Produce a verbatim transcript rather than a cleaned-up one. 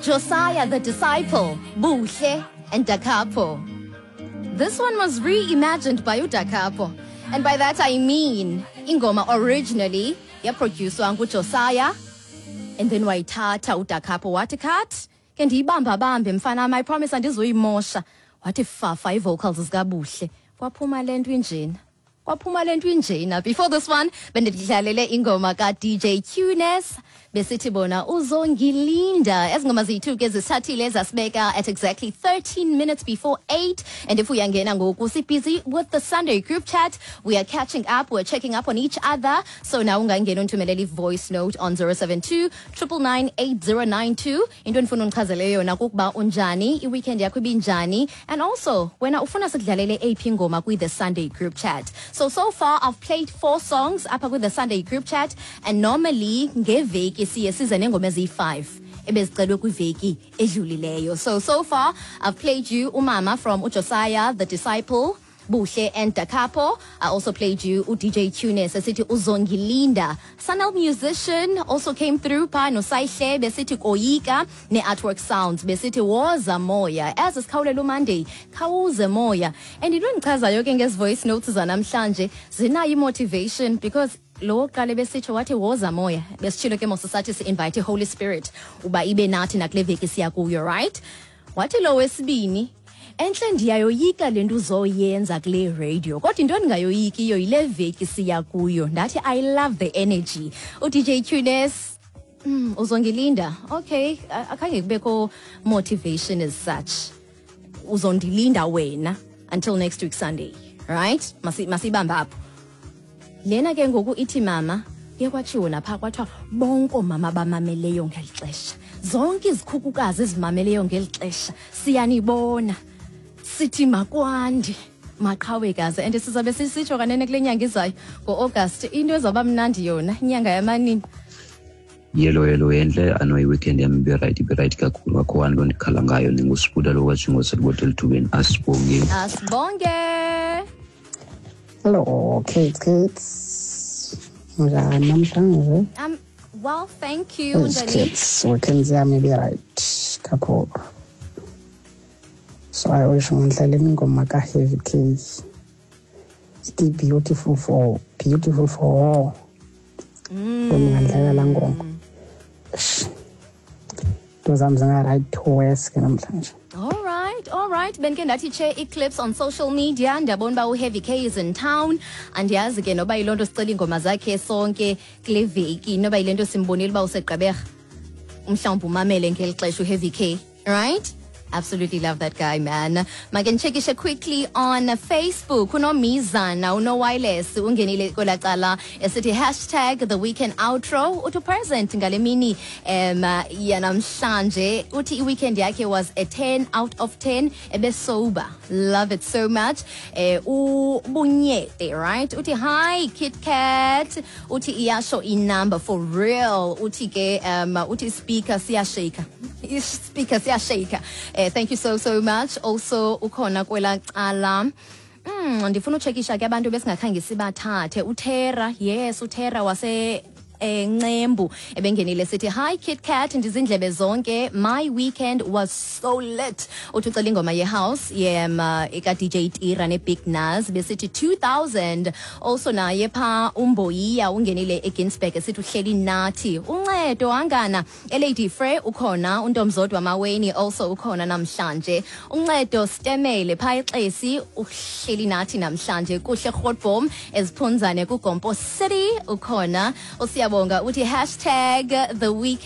Josiah the Disciple, Buhle and Dakapo. This one was reimagined by uDakapo. And by that I mean ingoma originally yaproducwa nguJosiah and then wayithatha uDakapo wathi cut ke ndiyibamba bambe mfana I promise andizuyimosha wathi fafa ii-vocals zikaBuhle kwaphuma le nto injena kwaphuma le nto injena before this one bendidlalele ingoma ka-DJ Tunes besithi bona uzongilinda ezi ngoma ziyi-two ke zisithathile zasibeka at exactly thirteen minutes before eight and if uyangena ngoku si-busy with the Sunday group chat we are catching up we're checking up on each other so now ungangena undithumelele i-voice note on zero seven two nine nine nine eight zero nine two into endifuna undichazele yona kukuba unjani i-weekend yakho ibinjani and also wena ufuna sikudlalele eyiphi ingoma kwi-the Sunday group chat so so far I've played four songs apha kwi-the Sunday group chat and normally ngeveki siye size neengoma eziyi-five ebezicelwe kwiveki edlulileyo so so far I've played you umama from uJosiah the Disciple Buhle and Dakapo. I also played you uDJ Tunes esithi Uzongilinda. Sanel musician also came through pha noSayihle besithi Koyika ne-Artwork Sounds besithi Woza Moya. As sikhawulela uMonday, khawuze moya. And into endichazayo ke ngezi voice notes zanamhlanje zinayo i-motivation because lo wokuqala besitsho wathi woza moya besitshilo ke mos sathi si-invite i-Holy Spirit uba ibe nathi nakule veki siya kuyo right wathi lo wesibini entle ndiyayoyika le nto uzoyenza kule radio kodwa into endingayoyikiyo yile veki siya kuyo ndathi I love the energy uDJ Tunes mm, uzongilinda okay a- akhange kubekho motivation as such uzondilinda wena until next week Sunday right Masi- masibambe apho lena ke ngoku ithi mama kuye kwatshiwo napha kwathiwa bonke oomama bamameleyo ngeli xesha zonke izikhukukazi ezimameleyo ngeli xesha siyanibona sithi makwande maqhawekazi and sizabe sisitsho kanene kule nyanga izayo ngo-August into ezawuba mnandi yona inyanga yamanini Yelo yelo entle ano i-weekend yam ibe-right ibe-right kakhulu akho nto ndikhala ngayo ndingusibuda lo katshingo selibode elithubeni asibonge asibonge Hello, kids, kids. Njani namhlanje? um well thank you Yes, unjani kids, weekend yami ibe right kakhulu. So I wish ngidlale ingoma ka-Heavy K. Ithi beautiful for beautiful for all. Ngingadlala la ngoma. Eish. Into zami zinga-right to worse ke namhlanje. All right, all right. Benke ndathi che ii-clips on social media ndiyabona uba uHeavy K is in town. Andiyazi ke noba yiloo nto sicela iingoma zakhe sonke kule veki noba yile nto simbonile uba usegqeberha. Mhlawumbi umamele ngeli xesha uHeavy K, right? Absolutely love that guy, man. Make ndichekishe quickly on Facebook. Unomizana, uno-wireless, ungenile kwelaa cala esithi hashtag the weekend outro. Uthi present ngale mini um yanamhlanje. Uthi i-weekend yakhe was a ten out of ten. Ebe sober. Love it so much. Eh, ubunyete, right? Uthi hi Kit Kat. Uthi iyasho inumber for real. Uthi ke um uthi speaker siyashake. Speaker siyashake. Eh thank you so so much. Also ukhona kwela cala Mm ndifuna uchekisha ke abantu besingakhange sibathathe uTera yes uTera wase eh Ncembu ebengenile sithi hi Kit Kat ndizindlebe zonke my weekend was so lit uthi ucela ingoma ye house yema eka DJ Tira ne Big Naz besithi two thousand also naye pha umboyiya ungenile eGinsberg esithi uhleli nathi uncedo angana eLady Frey ukhona untomzodwa Maweni also ukhona namhlanje uncedo Stemele pha eXesi uhleli nathi namhlanje kuhle Grootboom eziphunzane kuGompo City ukhona usiyabonga uthi hashtag the weekend